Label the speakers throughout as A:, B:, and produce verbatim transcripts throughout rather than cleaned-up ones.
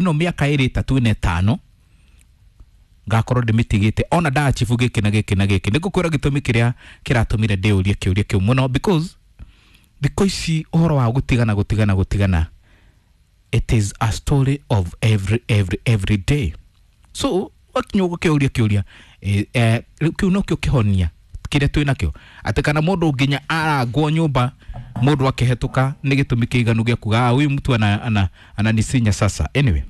A: Ĩno mĩaka ĩrĩ, ĩtatũ, ĩna, ĩtano ngakorwo ndĩmĩtigĩte ona ndachibu gĩkĩ na gĩkĩ na gĩkĩ. Nĩ ngũkwĩra gĩtũmi kĩrĩa kĩratũmire ndĩũrie kĩũria kĩu mũno, because thikũ ici ũhoro wa gũtigana, gũtigana, gũtigana, it is a story of every every every day. So wakinya ũgũkĩũria kĩũria eh, eh, rĩu kĩu nokĩo kĩhonia kĩrĩa twĩ nakĩo, atĩ kana mũndũ nginya arangwo nyũmba, mũndũ akĩhetũka, nĩ gĩtũmi kĩiganu gĩa kuga, "Ah, huyu mtu ana, ana, ananisinya sasa." Anyway,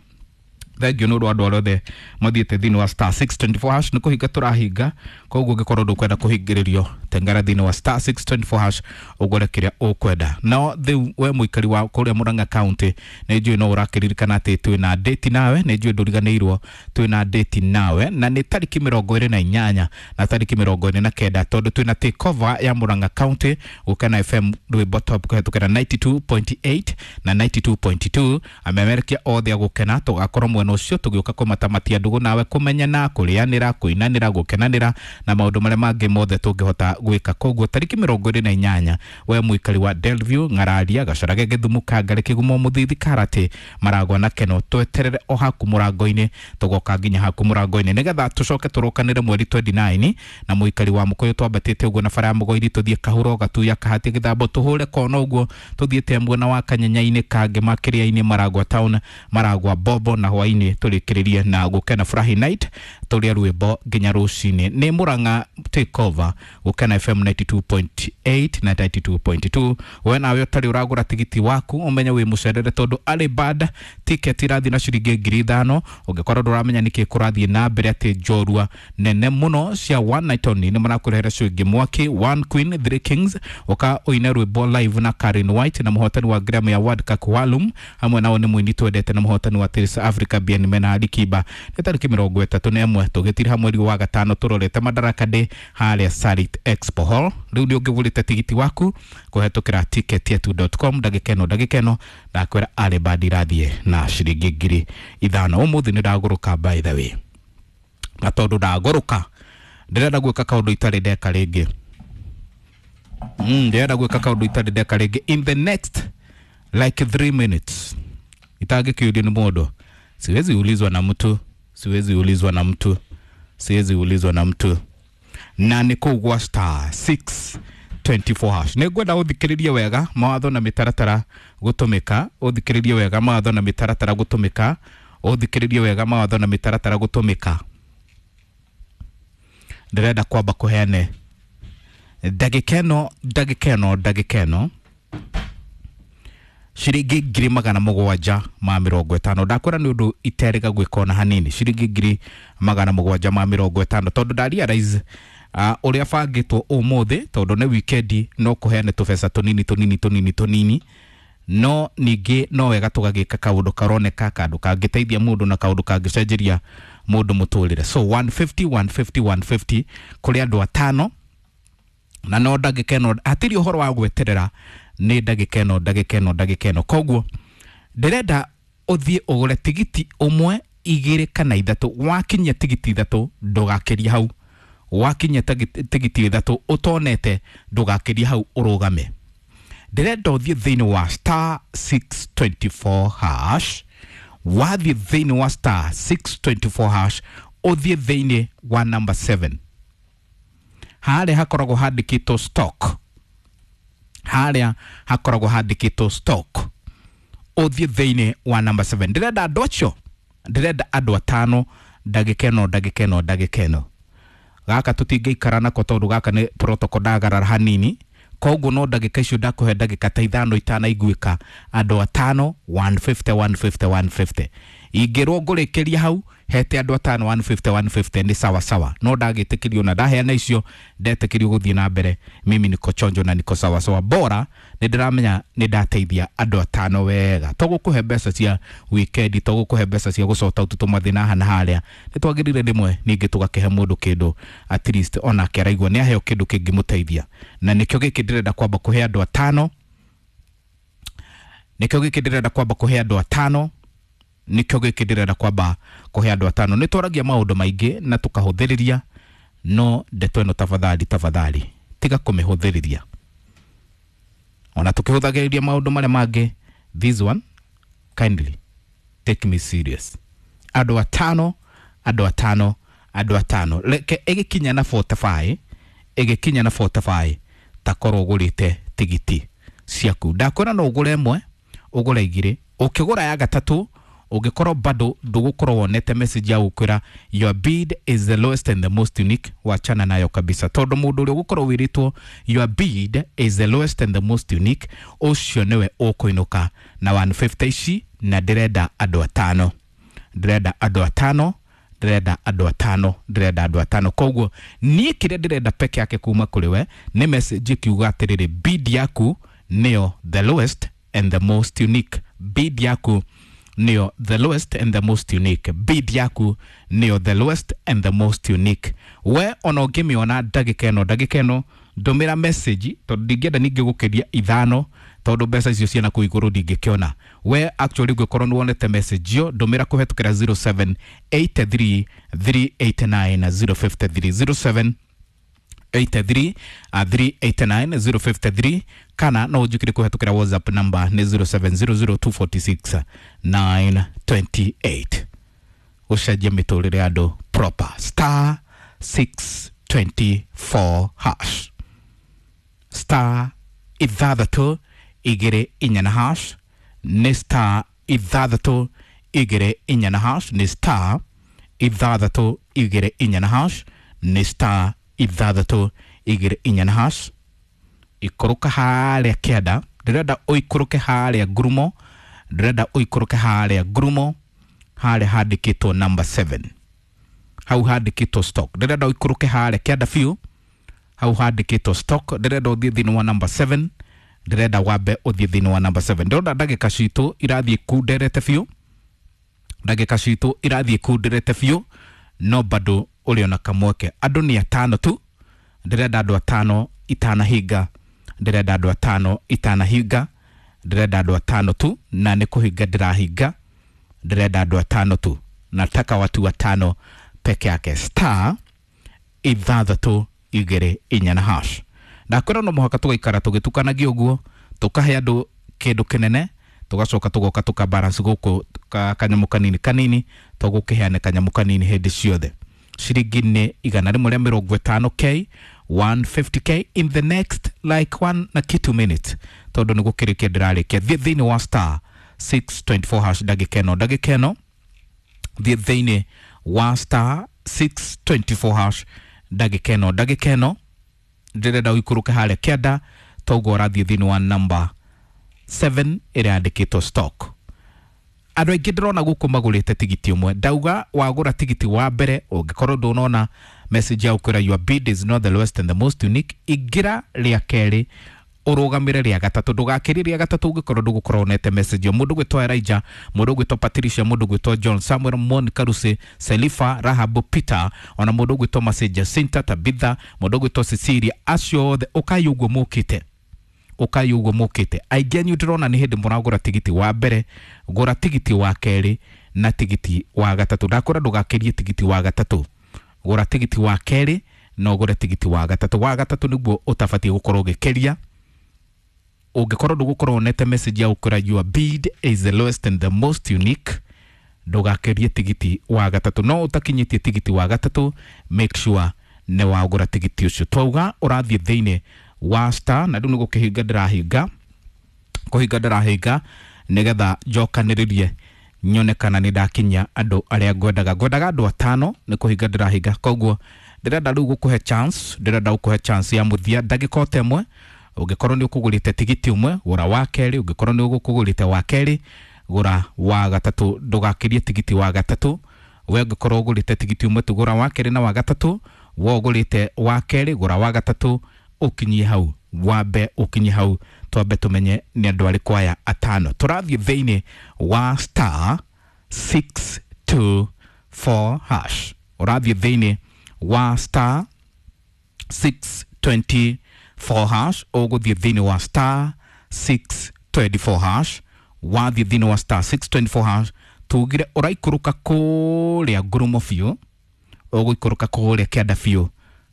A: thank you nĩ ũndũ wa andũ arĩa othe mathiĩte thĩinĩ wa star six two four hash. Nĩ kũhinga tũrahinga, koguo ũngĩkorwo ndũkwenda kũhingĩrĩrio, tengera thĩinĩ wa star six two four hash ũgũre kĩrĩa ũkwenda. No rĩu we mũikari wa kũrĩa Murang'a County, nĩ njũĩ no ũrakĩririkana atĩ twĩna date nawe. Nĩ njũĩ ndũriganĩirwo, twĩna date nawe, na nĩ tarĩki mĩrongo ĩrĩ na inyanya na tarĩki mĩrongo ĩrĩ na kenda, tondũ twĩna takeover ya Murang'a County, Gũkena F M rwĩmbo top kũhetũkĩra ninety-two point eight na ninety-two point two. Amemerekia othe a gũkena tũgakorwo mwena ũcio tũgĩũka kũmatamatia ndũgũ nawe, kũmenyana, kũrĩanĩra, kũinanĩra, gũkenanĩra na maũndũ marĩa mangĩ mothe tũngĩhota gwĩka. Koguo tarĩki mĩrongo ĩrĩ na inyanya, we mũikari wa Delview, Ng'araria, Gacarage, Gĩthumu, Kangari, Kĩgumo, Mũthithi, Karati, Maragwa na Keno, tweterere o haku mũrango-inĩ. Tũgoka nginya haku mũrango-inĩ nĩgetha tũcoke tũrokanĩre mweri mĩrongo ĩrĩ na kenda na mũikari wa Mũkũyũ, twambatĩte ũguo na bara ya Mũgoiri, tũthiĩ Kahuro, Gatuya, Kahati, Gĩthambo, tũhũre kona ũguo tũthiĩte mwena wa Kanyenya-inĩ, Kangema, Kĩrĩa-inĩ, Maragwa town, Maragwa Bobo, na hwaĩ-inĩ tũrĩkĩrĩrie na Gũkena Furahi Night, tũrĩe rwĩmbo nginya rũcinĩ. Nĩ Murang'a takeover, Gũkena F M ninety-two point eight na ninety-two point two. We nawe ũtarĩ ũragũra tigiti waku, ũmenye wĩ mũcerere, tondũ early bird ticket irathiĩ na ciringi ngiri ithano. Ũngĩkorwo ndũramenya nĩkĩ kũrathiĩ na mbere, atĩ njorua nene mũno cia one night only nĩ marakũrehera show ĩngĩ mwaki, One Queen Three Kings. Ũka ũine rwĩmbo live na Karen White na mũhotani wa Grammy Award Kakwalum. Hamwe nao nĩ mũini twendete na mũhotani wa Tales Africa Bien Mena Alikiba. Nĩ tarĩki mĩrongo ĩtatũ na ĩmwe tũgĩtiriha mweri wa gatano, tũrorete Madaraka Day harĩa Sarit Expo Hall. Rĩu nĩ ũngĩgũrĩte tigiti waku kũhetũkĩra ticketyetu dot com. Ndagĩka ĩno, ndagĩka ĩno ndakwĩra early bird irathiĩ na ciringi ngiri ithano. Ũmũthĩ nĩ ndagũrũka, by the way, na tondũ ndagũrũka ndĩrenda gwĩka kaũndũ itarĩ ndeka rĩngĩ. mm, ndĩrenda gwĩka kaũndũ itarĩ ndeka rĩngĩ in the next like three minutes itangĩkĩũrio nĩ mũndũ. Siwezi ulizwa na mtu, siwezi ulizwa na mtu, siwezi ulizwa na mtu, na nĩ kũu gwa star six two four hash. Nĩ ngwenda ũthikĩrĩrie wega mawatho na mĩtaratara gũtũmĩka. Ũthikĩrĩrie wega mawatho na mĩtaratara gũtũmĩka. Ũthikĩrĩrie wega mawatho na mĩtaratara gũtũmĩka. Ndĩrenda kwamba kũheane ndagĩka ĩno, ndagĩka ĩno, ndagĩka ĩno ciringi ngiri magana mũgwanja ma mĩrongo ĩtano. Ndakwĩra nĩ ũndũ iterĩga gwĩka ona hanini, ciringi ngiri magana mũgwanja ma mĩrongo ĩtano, tondũ nda realize uh, ũrĩa bangĩtwo ũmũthĩ, tondũ nĩ weekend, no kũheane tũbeca tũnini tũnini tũnini tũnini, no ningĩ no wega tũgagĩka kaũndũ karoneka, kandũ kangĩteithia mũndũ na kaũndũ kangĩcenjeria mũndũ mũtũrĩre. So one fifty, one fifty, one fifty kũrĩ andũ atano, na no ndagĩka ĩno, hatirĩ ũhoro wa gweterera, nĩ ndagĩka ĩno, ndagĩka ĩno, ndagĩka ĩno. Koguo ndĩrenda ũthiĩ ũgũre tigiti ũmwe, igĩrĩ kana ithatũ. Wakinyia tigiti ithatũ, ndũgakĩrie hau. Wakinyia tagi- tigiti ithatũ ũtonete, ndũgakĩrie hau, ũrũgame. Ndĩrenda ũthiĩ thĩinĩ wa star six two four hash. Wathiĩ thĩinĩ wa star six two four hash, ũthiĩ thĩinĩ wa number seven, harĩa hakoragwo handĩkĩtwo stock, harĩa hakoragwo handĩkĩtwo stock, ũthiĩ thĩinĩ wa number seven. Ndĩrenda andũ acio, ndĩrenda andũ atano, ndagĩka ĩno, ndagĩka ĩno, ndagĩka ĩno. Gaka tũtingĩikara nako, tondũ gaka nĩ protocol ndagarara hanini. Koguo no ndagĩka icio ndakũhe, ndagĩka ta ithano itanaiguĩka, andũ atano one fifty, one fifty, one fifty. Ingĩrwo ngũrĩkĩria hau hete andũ atano one fifty, one fifty, nĩ sawa sawa. No ndagĩtĩkĩrio na ndaheana icio, ndetĩkĩrio gũthiĩ na mbere. Mimi niko chonjo na niko sawa sawa, bora nĩ ndĩramenya nĩ ndateithia andũ atano wega. To gũkũhe mbeca cia weekend, to gũkũhe mbeca cia gũcota ũtũ mathĩna haha na harĩa, nĩ twagĩrĩire rĩmwe ningĩ tũgakĩhe mũndũ kĩndũ, at least onake araigua nĩ aheo kĩndũ kĩngĩmũteithia. Na nĩkĩo gĩkĩ ndĩrenda kwamba kũhe andũ atano, nĩkĩo gĩkĩ ndĩrenda kwamba kũhe andũ atano, nĩkĩo gĩkĩ ndĩrenda kwamba kũhe andũ atano. Nĩ twaragia maũndũ maingĩ na tũkahũthĩrĩria, no ndeto ĩno, tafadhali, tafadhali, tiga kũmĩhũthĩrĩria. Ona tũkĩhũthagĩrĩria maũndũ marĩa mangĩ, this one kindly. Take me serious. Andũ atano, andũ atano, andũ atano. Reke ĩgĩkinya na forty-five, ĩgĩkinya na forty-five, takorwo ũgũrĩte tigiti ciaku. Ndakwĩra no ũgũre ĩmwe, ũgũre igĩrĩ, ũkĩgũra ya gatatũ ũngĩkorwo bado ndũgũkorwo wonete message ya gũkwĩra your bid is the lowest and the most unique, wachana nayo kabisa, tondũ mũndũ ũrĩa ũgũkorwo wĩrĩtwo your bid is the lowest and the most unique, ũcio nĩwe ũkũinũka na one fifty ici. Na ndĩrenda andũ atano, ndĩrenda andũ atano, ndĩrenda andũ atano, ndĩrenda andũ atano. Koguo niĩ kĩrĩa ndĩrenda peke yake kuma kũrĩ we nĩ message ĩkiuga atĩrĩrĩ, bid yaku nĩyo the lowest and the most unique. Bid yaku nĩyo the lowest and the most unique. Bid yaku nĩyo the lowest and the most unique. We ona ũngĩmĩona ndagĩka ĩno, ndagĩka ĩno ndũmĩra message, tondũ ndingĩenda ningĩ gũkĩria ithano, tondũ mbeca icio ciana kũu igũrũ ndingĩkĩona. We actually ũngĩkorwo nĩ wonete message ĩyo, ndũmĩra kũhetũkĩra zero seven eight three three eight nine zero five three, zero seven eight three three eight nine zero five three, kana no ũnjĩkĩre kũhetũkĩra WhatsApp number nĩ zero seven zero zero two four six nine two eight. Gũcenjia mĩtũrĩre ya andũ proper. Star six twenty four hash, star ithathatũ igĩrĩ inya na hash, nĩ star ithathatũ igĩrĩ inya na hash, nĩ star ithathatũ igĩrĩ inya na hash, nĩ star ithathatũ igĩrĩ inya na hash. Ikũrũka harĩa kĩanda, ndĩrenda ũikũrũke harĩa ngurumo, ndĩrenda ũikũrũke harĩa ngurumo, harĩa handĩkĩtwo number seven, hau handĩkĩtwo stock. Ndĩrenda ũikũrũke harĩa kĩanda biũ, hau handĩkĩtwo stock. Ndĩrenda ũthiĩ thĩinĩ wa number seven, ndĩrenda wambe ũthiĩ thĩinĩ wa number seven. Ndĩrona ndagĩka citũ irathiĩ kunderete biũ, ndagĩka citũ irathiĩ kunderete biũ, no bado ũrĩ ona kamweke. Andũ nĩ atano tu, ndĩrenda andũ atano itanahinga, ndĩrenda andũ atano itanahinga, ndĩrenda andũ atano tu, na nĩ kũhinga ndĩrahinga, ndĩrenda andũ atano tu, nataka watu watano peke yake. Star ithathatũ igĩrĩ inya na hash. Ndakwĩra no mũhaka tũgaikara tũgĩtukanagia ũguo, tũkahe andũ kĩndũ kĩnene, tũgacoka tũgoka tũka balance gũkũ kanyamũ kanini kanini, tũgũkĩheane kanyamũ kanini hĩndĩ ciothe. Ciringi nĩ igana rĩmwe rĩa mĩrongo ĩtano K, one fifty K in the next like one na kitu minute, tondũ nĩ gũkĩrĩkia ndĩrarĩkia. Thiĩ thĩinĩ wa star six twenty four hash ndagĩka ĩno, ndagĩka ĩno thiĩ thĩinĩ wa star six twenty four hash ndagĩka ĩno, ndagĩka ĩno ndĩrenda ũikũrũke harĩa kĩanda, toguo ũrathiĩ thĩinĩ wa number seven ĩrĩa yandĩkĩtwo stock. Andũ aingĩ ndĩrona gũkũ magũrĩte tigiti ũmwe. Ndauga wagũra tigiti wa mbere, ũngĩkorwo ndũnona message ya gũkwĩra your bid is not the lowest and the most unique, ingĩra rĩa kerĩ ũrũgamĩre rĩa gatatũ, ndũgakĩrie rĩa gatatũ ũngĩkorwo ndũgũkorwo wonete message ĩyo. Mũndũ ũgwĩtwo Elijah, mũndũ ũgwĩtwo Patricia, mũndũ ũgwĩtwo John, Samuel, Monica, Lucy, Selifa, Rahab, Peter, ona mũndũ ũgwĩtwo Mercy, Jacinta, Tabitha, mũndũ ũgwĩtwo Cecilia, acio othe ũkai ũguo mũkĩte, ũkai ũguo mũkĩte. Aingĩ anyu ndĩrona nĩ hĩndĩ mũragũra tigiti wa mbere, gũra tigiti wa kerĩ na tigiti wa gatatũ. Ndakwĩra ndũgakĩrie tigiti wa gatatũ, gũra tigiti wa kerĩ na ũgũre tigiti wa gatatũ. Wa gatatũ nĩguo ũtabatiĩ gũkorwo ũgĩkĩria. Ũngĩkorwo ndũgũkorwo wonete message ya gũkwĩra your bid is the lowest and the most unique, ndũgakĩrie tigiti wa gatatũ. No ũtakinyĩtie tigiti wa gatatũ, make sure nĩ wagũra tigiti ũcio. Twauga ũrathiĩ thĩinĩ wa star, na rĩu nĩ gũkĩhinga ndĩrahinga, kũhinga ndĩrahinga nĩgetha njokanĩrĩrie nyone kana nĩ ndakinyia andũ arĩa ngwendaga. Ngwendaga andũ atano, nĩ kũhinga ndĩrahinga. Koguo ndĩrenda rĩu gũkũhe chance, ndĩrenda gũkũhe chance ya mũthia ndagĩka o ta ĩmwe. Ũngĩkorwo nĩ ũkũgũrĩte tigiti ũmwe, gũra wa kerĩ. Ũngĩkorwo nĩ ũgũkũgũrĩte wa kerĩ, gũra wa gatatũ. Ndũgakĩrie tigiti wa gatatũ. We ũngĩkorwo ũgũrĩte tigiti ũmwe tu, gũra wa kerĩ na wa gatatũ. We ũgũrĩte wa kerĩ, gũra wa gatatũ, ũkinyie hau, wambe ũkinyie hau, twambe tũmenye nĩ andũ arĩkũ aya atano. Tũrathiĩ thĩinĩ wa star six two four hash. Ũrathiĩ thĩinĩ wa star six twenty four hash, ũgũthiĩ thĩinĩ wa star six twenty four hash. Wathiĩ thĩinĩ wa star six twenty four hash, tugire ũraikũrũka kũrĩa ngurumo biũ, ũgũikũrũka kũrĩa kĩanda biũ,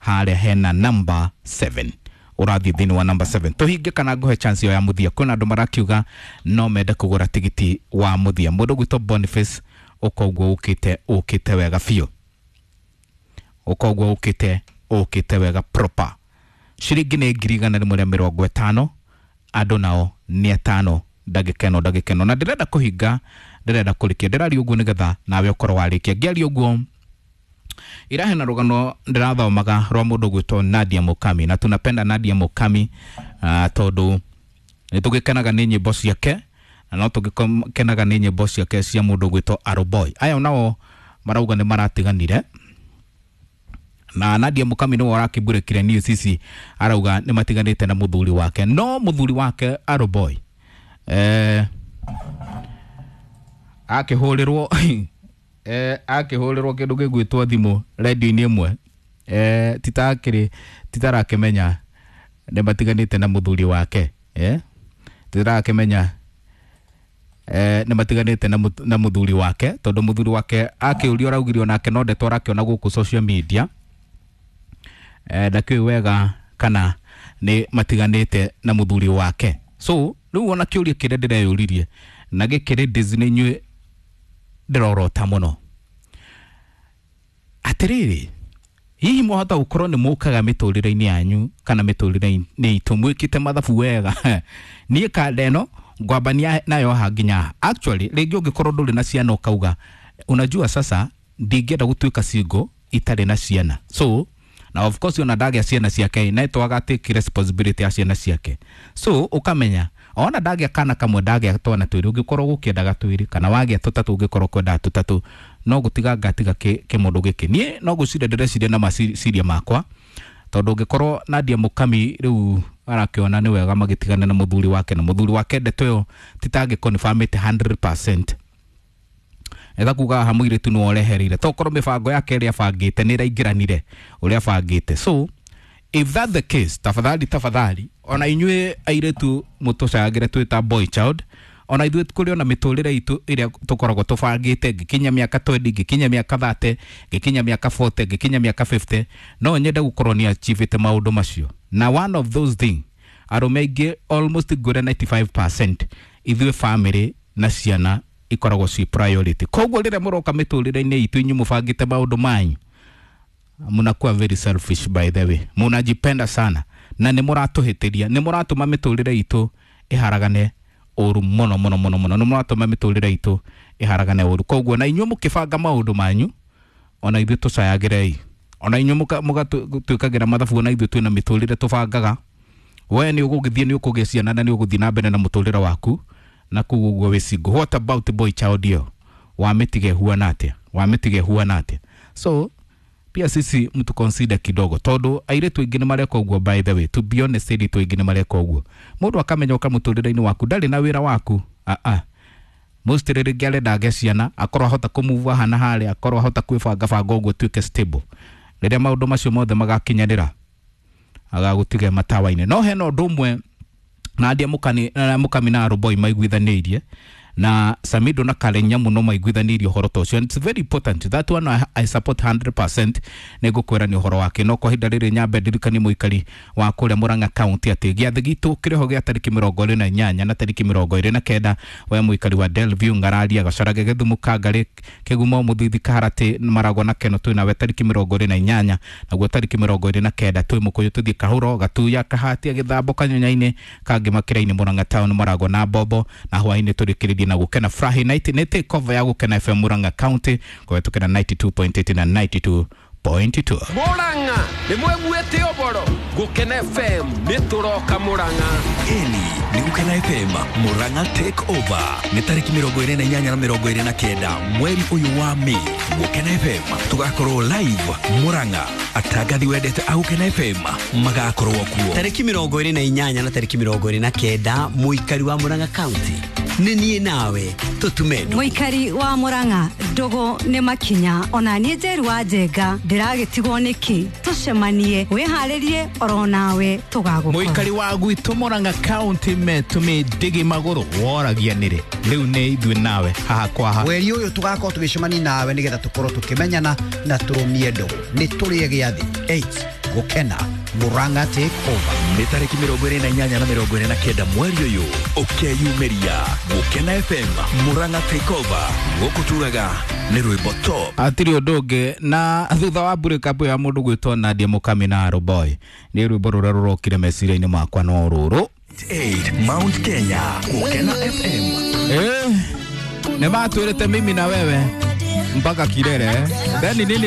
A: harĩa hena number seven. Ũrathiĩ thĩinĩ wa number seven. Tũhinge kana ngũhe chance ĩyo ya mũthia. Kwĩna andũ marakiuga no mende kũgũra tigiti wa mũthia. Mũndũ gwĩtwo Boniface, ũkoguo ũkĩte ũkĩte wega biũ, ũkoguo ũkĩte ũkĩte wega proper. Ciringi nĩ ngiri igana rĩmwe rĩa mĩrongo ĩtano, andũ nao nĩ atano, ndagĩka ĩno ndagĩka ĩno. Na ndĩrenda kũhinga, ndĩrenda kũrĩkia, ndĩraria ũguo nĩgetha nawe ũkorwo warĩkia. Ngĩaria ũguo irahe na rũgano ndĩrathomaga rwa mũndũ gwĩtwo Nadia Mukami, na tunapenda Nadia Mukami uh, tondũ nĩ tũgĩkenaga nĩ nyĩmbo ciake, na no tũgĩkenaga nĩ nyĩmbo ciake cia mũndũ gwĩtwo Aroboy. Aya nao marauga nĩ maratiganire, na Nadia Mukami nĩwe ũrakĩmbũrĩkire news ici, arauga nĩ matiganĩte na mũthuri wake, no mũthuri wake Aroboy eh, akĩhũrĩrwo eh, akĩhũrĩrwo kĩndũ gĩgwĩtwo thimũ radio-inĩ ĩmwe, eh, titakĩrĩ titarakĩmenya nĩ matiganĩte na mũthuri wake, eh, titarakĩmenya eh, nĩ matiganĩte na, na mũthuri wake, tondũ mũthuri wake akĩũrio araugire onake no ndeto arakĩona gũkũ social media, eh, ndakĩũĩ wega kana nĩ matiganĩte na mũthuri wake. So rĩu ona kĩũria kĩrĩa ndĩreyũririe na gĩkĩrĩ Disney inyuĩ ndĩrorota mũno atĩrĩrĩ, hihi mwahota gũkorwo nĩ mũkaga mĩtũrĩre-inĩ yanyu kana mĩtũrĩre-inĩ itũ mwĩkĩte mathabu wega? Niĩ kanda ĩno ngwambania nayo haha nginya actually rĩngĩ ũngĩkorwo ndũrĩ na ciana ũkauga unajua sasa ndingĩenda gũtuĩka single itarĩ na ciana, so na of course ona ndagĩa ciana ciake na twaga take responsibility ya ciana ciake, so ukamenya ona ndagĩa kana kamwe ndagĩa twana twĩrĩ, ũngĩkorwo gũkĩendaga twĩrĩ kana wagĩa tũtatũ ũngĩkorwo kwendaga tũtatũ, no gũtiga ngatiga kĩmũndũ gĩkĩ. Niĩ no gwĩciria ndĩreciria na maciria makwa, tondũ ũngĩkorwo Nadia Mukami rĩu arakĩona nĩ wega magĩtigana na mũthuri wake, na mũthuri wake ndeto ĩyo titangĩconfirmĩte hundred percent, etha kuga haha mũirĩtu nĩwe ũrehereire, tokorwo mĩbango yake ĩrĩa abangĩte nĩ ĩraingĩranire ũrĩa abangĩte. So if that the case, tafadhali tafadhali ona inyuĩ airĩtu mũtũcagĩre twĩ ta boy child, ona ithuĩ kũrĩ ona mĩtũrĩre itũ ĩrĩa tũkoragwo tũbangĩte, ngĩkinya mĩaka twenty, ngĩkinya mĩaka thirty, ngĩkinya mĩaka forty, ngĩkinya mĩaka fifty, no nyende gũkorwo nĩ achievĩte maũndũ macio. Na one of those thing, arũme aingĩ almost ngwĩre ninety-five percent ithuĩ family na ciana ikoragwo ci priority. Koguo rĩrĩa mũroka mĩtũrĩre-inĩ itũ inyuĩ mũbangĩte maũndũ manyu, munakuwa very selfish by the way, munajipenda sana na nĩ mũratũhĩtĩria, nĩ mũratũma mĩtũrĩre itũ ĩharagane ũru mũno mũno mũno mũno, nĩ mũratũma mĩtũrĩre itũ ĩharagane ũru. Koguo na inyuĩ mũkĩbanga maũndũ manyu, ona ithuĩ tũcayagĩrei, ona inyuĩ mũgatwĩkagĩra mathabu, ona ithuĩ twĩna mĩtũrĩre tũbangaga. We nĩ ũgũgĩthiĩ nĩ ũkũgĩa ciana na nĩ ũgũthiĩ na mbere na mũtũrĩre waku, na kũu ũguo wĩ single. What about boy child ĩyo wamĩtige huana atĩa? Wamĩtige huana atĩa? So pia sisi mtu consider kidogo, tondu airĩtu aingĩ nĩ mareka ũguo. By the way, to be honest, airĩtu aingĩ nĩ mareka ũguo. Mũndũ akamenya ũka mũtũrĩre-inĩ waku ndarĩ na wĩra waku, a a most rĩngĩ arenda agĩe ciana, akorwo ahota kũmove haha na harĩa, akorwo ahota kwĩbanga banga ũguo tuĩke stable. Rĩrĩa maũndũ macio mothe magakinyanĩra, agagũtiga matawa-inĩ. No hena ũndũ ũmwe Nadia Mukami na Mukami na Aroboy maiguithanĩirie, na Samido na Karen Nyamu no maiguithanĩirie ũhoro ta ũcio. And it's very important that one I, I support hundred percent. Nĩngũkwĩra nĩ ũhoro wake. No kwa ihinda rĩrĩ nyambe ndirikanie mũikari wa kũrĩa Murang'a County atĩ gĩathĩ gitũ kĩrĩho gĩa tarĩki mĩrongo ĩrĩ na inyanya na tarĩki mĩrongo ĩrĩ na kenda. We mũikari wa Delview, Ngararia, Gacarage, Gĩthumo, Kangarĩ, Kĩgumo, Mũthithi, Kaharatĩ, Maragwa na Keno twĩ nawe tarĩki mĩrongo ĩrĩ na inyanya, naguo tarĩki mĩrongo ĩrĩ na kenda twĩ Mũkũyũ tũthiĩ Kahũro, Gatuya, Kahatia, Gĩthambo, Kanyonyainĩ, Kangĩma, Kĩrainĩ, Murang'a Town, Maragwa na Bombo, na hwainĩ tũrĩkĩrĩrie na Gũkena Furahi Night. Nĩ take over ya Gũkena F M Murang'a County kũhetũkĩra ninety-two point eight na ninety-two point two.
B: Murang'a nĩ mwĩguĩte ũboro Gũkena F M nĩ tũroka Murang'a.
C: Ĩni nĩ Gũkena F M Murang'a take over nĩ tarĩki mĩrongo ĩrĩ na inyanya na mĩrongo ĩrĩ na kenda mweri ũyũ wa Mĩĩ. Gũkena F M tũgakorwo live Murang'a, atangathi wendete a Gũkena F M magakorwo kuo
D: tarĩki mĩrongo ĩrĩ na inyanya na tarĩki mĩrongo ĩrĩ na kenda. Mũikari wa Murang'a County nĩ niĩ nawe tũtume ndũgũ.
E: Mũikari wa Murang'a ndũgũ nĩ makinya, ona niĩ Njeru wa Njenga ndĩragĩtigwo nĩkĩ? Tũcemanie, wĩharĩrie oro nawe tũgagũkora.
A: Mũikari wa gwitũ Murang'a County metũmĩ ndigi magũrũ woragia nĩrĩ, rĩu nĩ ithuĩ nawe haha kwa haha.
F: Mweri ũyũ tũgakorwo tũgĩcemania nawe nĩgetha tũkorwo tũkĩmenyana na tũrũmie ndũgũ. Nĩ tũrĩe gĩathĩ eight Gukena Murang'a take over.
C: Nĩ tarĩki mĩrongo ĩrĩ na inyanya na mĩrongo ĩrĩ na kenda mweri ũyũ, ũkeyumĩria Gũkena F M Murang'a take over. Gũkũ tugaga nĩ rwĩmbo top.
A: Hatirĩ ũndũ ũngĩ na thutha wa break up ya mũndũ gwĩtwo Nadia Mukami na Arrow Boy, nĩ rwĩmbo rũrĩa rũrokire meciria-inĩ makwa no rũrũ.
C: eight Mount Kenya, Gũkena F M.
A: Eh, nĩ matwĩrĩte mimi na wewe mpaka kilele, then nini.